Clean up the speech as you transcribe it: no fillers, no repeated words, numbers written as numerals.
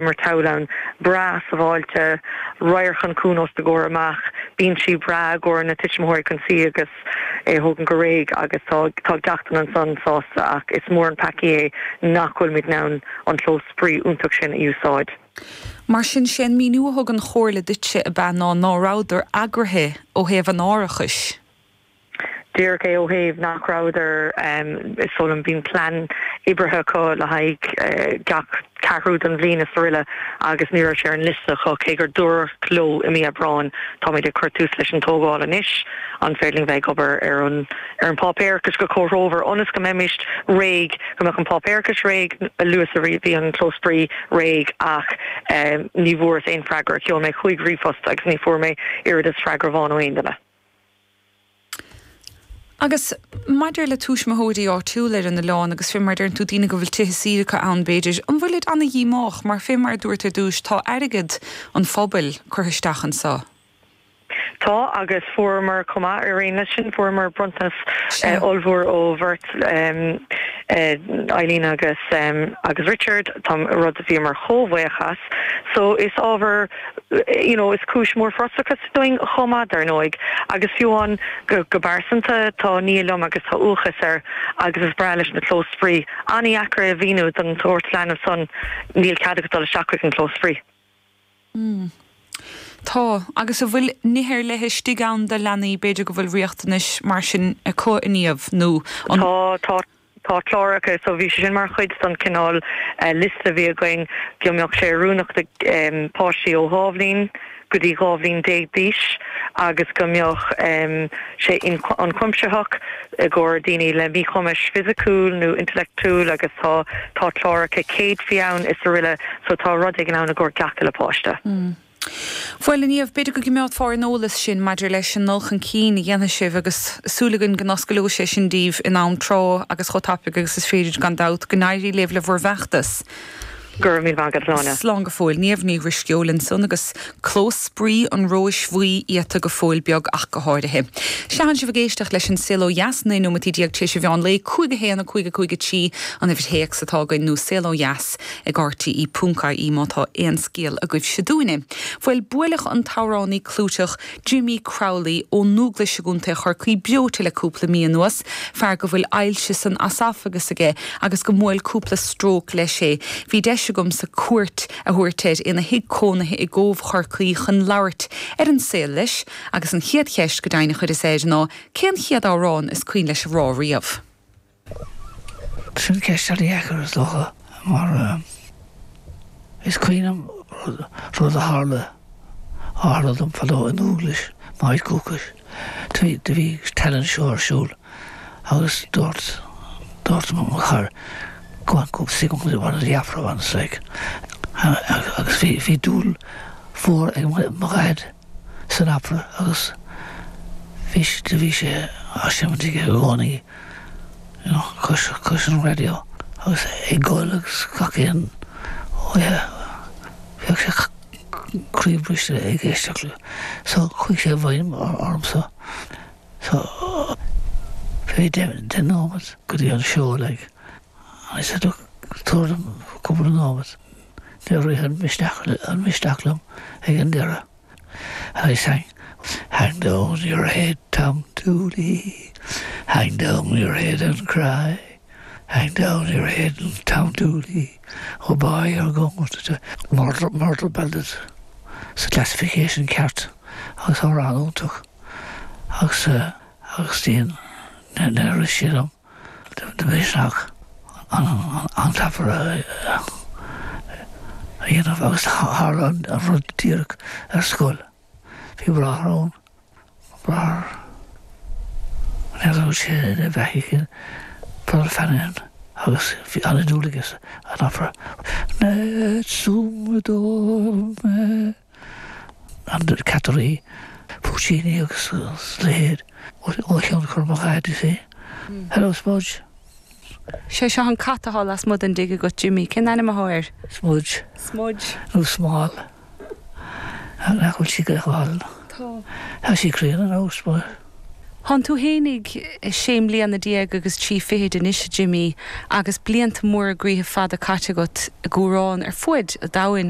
Murtall ann, breá sábháilte, radharc an cuan os do chomhair amach, binsí breá i gcomhair na tuismitheoirí chun suí agus é a thógaint go réidh agus tá tá gach duine ansan sásta ach is mór an peacaí é nach bhfuilimid in ann an clós spraoi iontach sin a úsáid. Mar sin, sé an míniú a thug an Chomhairle duitse ab ea ná ná rabhadar eagraithe ó thaobh an árachais. Díreach é ó thaobh nach rabhadar, is dóigh liom, bíonn plean oibrithe acu le haghaidh gach ceathrú den bhliain is aroile agus ní raibh sé ar an liosta acu cé gur dúradh leo i mí Aibreáin táimid ag cur tús leis an tógáil anois, an féidir linn bheith ag obair ar an ar an páipéarachas go comhthreomhar ionas go mbeimis réidh, go mbeadh an páipéarachas réidh a luaithe is a bhí an clós spraoi réidh ach ní bhfuaireas aon freagra, sheol mé chúig ríomhphost agus ní fuair mé oiread is freagra amháin ó aon duine. Agus maidir le tuismitheoirí áitiúla ar an oileán agus fé mar a deireann tú, daoine go bhfuil tithe saoire acu ann b'fhéidir, an bhfuilid ana-dhíomách mar fé mar a dúirt ar dtúis tá airgead an phobail curtha isteach anso? Tá agus fuaireamar chomh maith ar aon leis sin, fuaireamar bronntanas ollmhór ó bheirt Eileen agus agus Richard, tá rud a bhíomar chomh buíoch as. So is ábhar you know is cúis mhór frustrachais dúinn chomh maith, dar ndóigh. Agus fiú amháin go go pearsanta, tá nia liom agus tá uathachas air agus is breá leis na clós spraoi. An-dheacair é a mhíniú don tsórt leanbh san, níl cead agat dul isteach chuig an clós spraoi. Mm. Tá. Agus an bhfuil nithe ar leith istigh ann do leanaí, b'fhéidir go bhfuil riachtanais mar sin acu, a Niamh, nó an. Tá, tá. Tá cláracha, so bhí sé sin mar chuid den cineál liosta a bhí againn, go mbeadh sé oiriúnach do páistí ó 2 bhliain go dtí 12 bhliain d'aois agus go mbeadh sé ionchuimsitheach i gcomhair daoine le míchumais fisiciúil nó intleachtúil agus tá tá cláracha céadfaí ann is aroile so tá rud éigin ann i gcomhair gach uile páiste. Bhuel, a Niamh, b'fhéidir go gcimeádfar ar an eolas sinn maidir leis an ndul chun cinn a dhéanfaidh sibh agus súil againn go n-oscaileoidh sé sin daoibh in am tráth agus chomh tapaidh agus is féidir, gan dabht. Go n-éirí libh le bhur bhfeachtas. Go raibh míle maith agat, a Shláine. Slán go fóill. Niamh Ní Dhrisceoil ansan agus Clós Spraoi an Róis Bhuí iata go fóill beag ach go háirithe. Sea, tánn sibh ag éisteacht leis an Saol Ó Dheas, 19 nóimeataí tar éis an mheán lae, 5 1 5 5 3 an uimhir théacs atá againn nó Saol Ó Dheas ag rte ponc ie má tá aon scéal agaibhse dúinne. Bhuel, buaileadh an t-amhránaí clúiteach Jimmy Crowley ó Dúghlais i gContae Chorcaí breoite le cúpla mí anuas, fear go bhfuil ailse san easafagas aige agus go mbuail cúpla stróc leis é. Bhí deis agamsa cuairt a thabhairt air ina thigh cónaithe i gCóbh Chorcaí chun labhairt ar an saol leis agus an chéad cheist go deimhin a chuireas air ná cén chéad amhrán is cuimhin leis a rá riamh? Sin ceist an-dheacair is dócha mar is cuimhin liom rud a tharla, a tharla dom fadó i nDúghlais, m'áit dhúchais. Do bhí talent show ar siúl agus dúirt, dúirt mo chara go on go sing one of the opera ones like agus bhí, bhí dúil mhór ag mo dhaid san opera agus bhí, do bhí sé á seimint aige i gcónaí you know cois, cois an raidió agus ag gol agus gach aon oíche bheadh sé croíbhriste ag éisteacht le so chuaigh sé i bhfeidhm ormsa so bhí deich nóiméad go dtí an seó like and I said look tabhair dom cúpla nóiméad níor rith an misneach an misneach liom ag an deireadh and I sang Hang down your head Tom Dooley Hang down your head and cry Hang down your head Tom Dooley Oh boy you're going to Murder, murder ballad sa classification ceart agus amhrán iontach agus agus níor rith sé liom de mhisneach an t-opera a dhéanamh agus tharla an rud díreach ar scoil. Bhí bráthair ann, bráthair, n'fheadar an bhfuil sé ina bheathaidh, Brother Fanahan, agus bhí an-dúil aige san opera. Nessun dorma. An Cat Rí, Puccini agus a leithéid ó thionchar mo dhaid, you see. Hello Smudge. Sé seo an cat atá lasmuigh den dtigh agat, Jimmy. Cén ainm atá air? Smudge. Smudge. Nó Smál. Nach bhfuil sí go hálainn? Tá. Tá sí críonna nó Smudge. Thánn tú fhéinig sé mbliana déag agus trí fichid anois, a Jimí, agus blianta móra groíthe fada caite agat ag amhrán ar fuaid a' domhain.